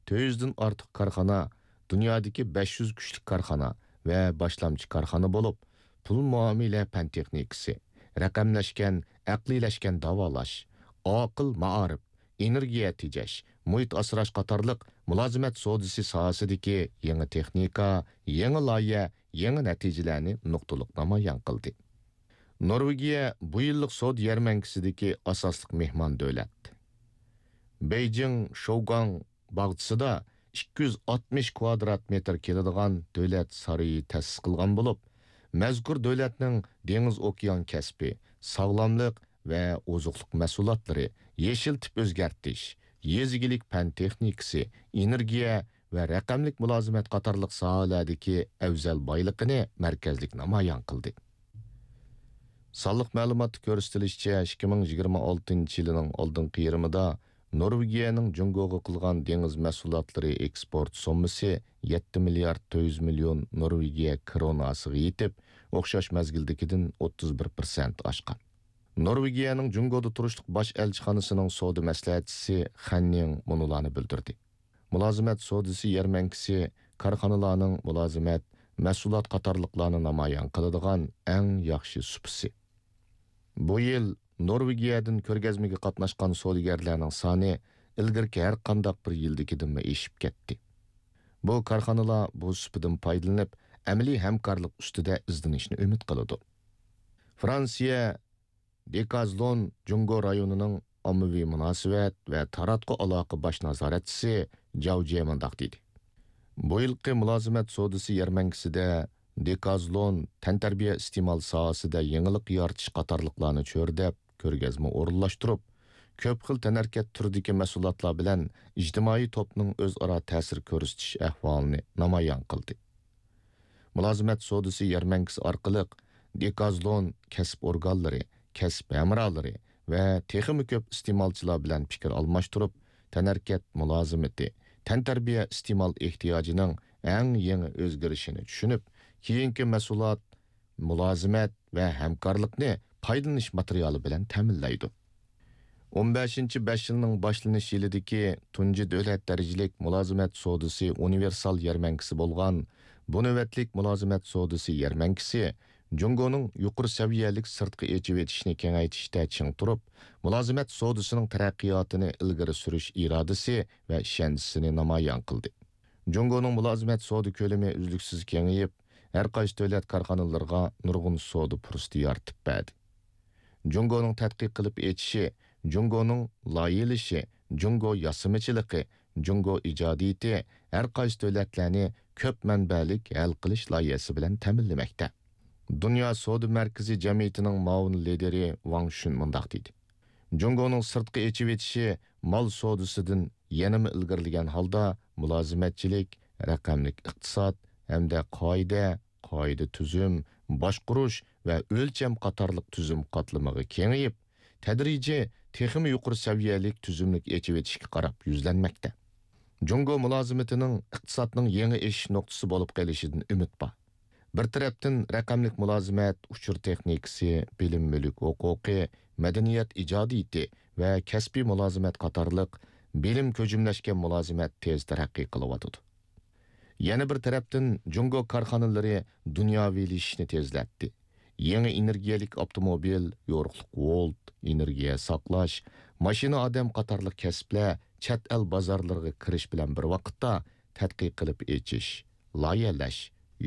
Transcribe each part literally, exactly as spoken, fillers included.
تۆت يۈزدىن ئارتۇق كارخانا، دۇنيادىكى بەش يۈز كۈچلۈك كارخانا ۋە باشلامچى كارخانا بولۇپ، پۇل مۇئامىلە پەن تېخنىكىسى، رەقەملەشكەن، ئەقلىيلەشكەن داۋالاش، ئاقىل مائارىپ، ئېنېرگىيە تېجەش، مۇھىت ئاسراش قاتارلىق مۇلازىمەت سودىسى ساھەسىدىكى يېڭى تېخنىكا، يېڭى لايىھە، يېڭى نەتىجىلەرنى نۇقتىلىق نامايان قىلدى. نورۋېگىيە بۇ يىللىق سودا يەرمەنكىسىدىكى ئاساسلىق مېھمان دۆلەت. بېيجىڭ شوگاڭ باغچىسىدا ئىككى يۈز ئاتمىش كۋادرات مېتىر كېلىدىغان دۆلەت سارىيى تەسىس قىلغان بولۇپ، مەزكۇر دۆلەتنىڭ دېڭىز ئوكيان كەسپى، ساغلاملىق ۋە ئوزۇقلۇق مەھسۇلاتلىرى، يېشىل تىپ ئۆزگەرتىش، يېزا ئىگىلىك پەن تېخنىكىسى، ئېنېرگىيە ۋە رەقەملىك مۇلازىمەت قاتارلىق ساھەلەردىكى ئەۋزەل بايلىقىنى مەركەزلىك نامايان قىلدى. سانلىق مەلۇماتتا كۆرسىتىلىشىچە، ئىككى مىڭ يىگىرمە ئالتىنچى يىلىنىڭ ئالدىنقى يېرىمىدا نورۋېگىيەنىڭ جۇڭگوغا قىلغان دېڭىز مەھسۇلاتلىرى ئېكسپورت سوممىسى يەتتە مىليارد تۆت يۈز مىليون نورۋېگىيە كروناسىغا يېتىپ، ئوخشاش مەزگىلدىكىدىن ئوتتۇز بىر پىرسەنت ئاشقان. نورۋېگىيەنىڭ جۇڭگودا تۇرۇشلۇق باش ئەلچىخانىسىنىڭ سودا مەسلىھەتچىسى خەن نىڭ مۇنۇلارنى بىلدۈردى: مۇلازىمەت سودىسى يەرمەنكىسى كارخانىلارنىڭ مۇلازىمەت، مەھسۇلات قاتارلىقلارنى نامايان قىلىدىغان ئەڭ ياخشى سۇپىسى. بۇ يىل نورۋېگىيەدىن كۆرگەزمىگە قاتناشقان سودىگەرلەرنىڭ سانى ئىلگىرىكى ھەر قانداق بىر يىلدىكىدىنمۇ ئېشىپ كەتتى. بۇ كارخانىلار بۇ سۇپىدىن پايدىلىنىپ، ئەمەلىي ھەمكارلىق ئۈستىدە ئىزدىنىشنى ئۈمىد قىلىدۇ. فرانسىيە دېكازلون جۇڭگو رايونىنىڭ ئاممىۋى مۇناسىۋەت ۋە تاراتقۇ ئالاقە باش نازارەتچىسى جاۋ جيې مۇنداق دېدى: بۇ يىلقى مۇلازىمەت سودىسى يەرمەنكىسىدە دېكازلون تەنتەربىيە ئىستېمال ساھەسىدە يېڭىلىق يارىتىش قاتارلىقلارنى چۆرىدەپ، كۆرگەزمە ئورۇنلاشتۇرۇپ، كۆپ خىل تەنھەرىكەت تۈرىدىكى مەھسۇلاتلار بىلەن ئىجتىمائىي توپنىڭ ئۆزئارا تەسىر كۆرسىتىش ئەھۋالىنى نامايان قىلدى. مۇلازىمەت سودىسى يەرمەنكىسى ئارقىلىق دېكازلون كەسىپ ئورگانلىرى، كەسىپ ھەمراھلىرى ۋە تېخىمۇ كۆپ ئىستېمالچىلار بىلەن پىكىر ئالماشتۇرۇپ، تەنھەرىكەت مۇلازىمىتى، تەنتەربىيە ئىستېمال ئېھتىياجىنىڭ ئەڭ يېڭى ئۆزگىرىشىنى چۈشىنىپ، كېيىنكى مەھسۇلات، مۇلازىمەت ۋە ھەمكارلىقنى پايدىلىنىش ماتېرىيالى بىلەن تەمىنلەيدۇ. ئون بەشىنچى بەش يىلنىڭ باشلىنىش يىلىدىكى تۇنجى دۆلەت دەرىجىلىك مۇلازىمەت سودىسى ئۇنىۋېرسال يەرمەنكىسى بولغان بۇ نۆۋەتلىك مۇلازىمەت سودىسى يەرمەنكىسى جۇڭگونىڭ يۇقىرى سەۋىيەلىك سىرتقا ئېچىۋېتىشنى كېڭەيتىشتە چىڭ تۇرۇپ، مۇلازىمەت سودىسىنىڭ تەرەققىياتىنى ئىلگىرى سۈرۈش ئىرادىسى ۋە ئىشەنچىسىنى نامايان قىلدى. جۇڭگونىڭ مۇلازىمەت سودا كۆلىمى ئۈزلۈكسىز كېڭىيىپ، ھەر قايسى دۆلەت كارخانىلىرىغا نۇرغۇن سودا پۇرسىتى يارىتىپ بەردى. جۇڭگونىڭ تەتقىق قىلىپ ئېچىشى، جۇڭگونىڭ لايىھەلىشى، جۇڭگو ياسىمىچىلىقى، جۇڭگو ئىجادىيىتى ھەر قايسى دۆلەتلەرنى كۆپ مەنبەلىك ھەل قىلىش لايىھەسى بىلەن تەمىنلىمەكتە. دۇنيا سودا مەركىزى جەمئىيىتىنىڭ مۇئاۋىن لىدىرى ۋاڭ شۈن مۇنداق دېدى: جۇڭگونىڭ سىرتقا ئېچىۋېتىشى مال سودىسىدىن يەنىمۇ ئىلگىرىلىگەن ھالدا مۇلازىمەتچىلىك، رەقەملىك ئىقتىساد ھەمدە قائىدە، قائىدە تۈزۈم، باشقۇرۇش ۋە ئۆلچەم قاتارلىق تۈزۈم قاتلىمىغا كېڭىيىپ، تەدرىجىي تېخىمۇ يۇقىرى سەۋىيەلىك تۈزۈملۈك ئېچىۋېتىشكە قاراپ يۈزلەنمەكتە. جۇڭگو مۇلازىمىتىنىڭ ئىقتىسادنىڭ يېڭى ئېشىش نۇقتىسى بولۇپ قېلىشىدىن ئۈمىد بار. بىر تەرەپتىن، رەقەملىك مۇلازىمەت، ئۇچۇر تېخنىكىسى، بىلىم مۈلۈك ھوقۇقى، مەدەنىيەت ئىجادىيىتى ۋە كەسپىي مۇلازىمەت قاتارلىق بىلىم كۆجۈملەشكەن مۇلازىمەت تېز تەرەققىي قىلىۋاتىدۇ. يەنە بىر تەرەپتىن، جۇڭگو كارخانىلىرى دۇنياۋىلىشىشنى تېزلەتتى. يېڭى ئېنېرگىيەلىك ئاپتوموبىل، يورۇقلۇق ۋولت، ئېنېرگىيە ساقلاش، ماشىنا ئادەم قاتارلىق كەسىپلەر چەت ئەل بازارلىرىغا كىرىش بىلەن بىر ۋاقىتتا تەتقىق قىلىپ ئېچىش، لايىھەلەش،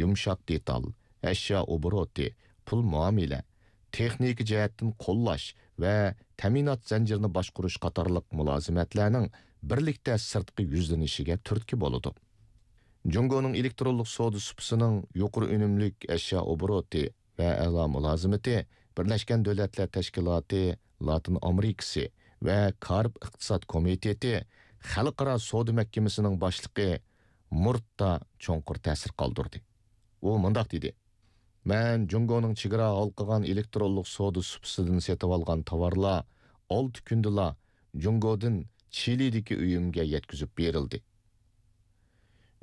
يۇمشاق دېتال، ئەشيا ئوبوروتى، پۇل مۇئامىلە، تېخنىكا جەھەتتىن قوللاش ۋە تەمىنات زەنجىرىنى باشقۇرۇش قاتارلىق مۇلازىمەتلەرنىڭ بىرلىكتە سىرتقا يۈزلىنىشىگە تۈرتكە بولىدۇ. جۇڭگونىڭ ئېلېكترونلۇق سودا سۇپىسىنىڭ يۇقىرى ئۈنۈملۈك ئەشيا ئوبوروتى ۋە ئەلا مۇلازىمىتى بىرلەشكەن دۆلەتلەر تەشكىلاتى لاتىن ئامېرىكىسى ۋە كارىب ئىقتىساد كومىتېتى خەلقئارا سودا مەھكىمىسىنىڭ باشلىقى مۇرتتا چوڭقۇر تەسىر قالدۇردى. ئۇ مۇنداق دېدى: مەن جۇڭگونىڭ چېگرا ھالقىغان ئېلېكترونلۇق سودا سۇپىسىدىن سېتىۋالغان تاۋارلار ئالتە كۈندىلا جۇڭگودىن چىلىدىكى ئۆيۈمگە يەتكۈزۈپ بېرىلدى.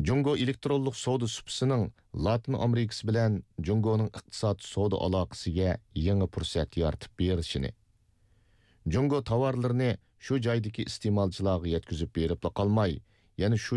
جۇڭگو ئېلېكترونلۇق سودا سۇپىسىنىڭ لاتىن ئامېرىكىسى بىلەن جۇڭگونىڭ ئىقتىساد سودا ئالاقىسىگە يېڭى پۇرسەت يارىتىپ بېرىشىنى، جۇڭگو تاۋارلىرىنى شۇ جايدىكى ئىستېمالچىلارغا يەتكۈزۈپ بېرىپلا قالماي، يەنە شۇ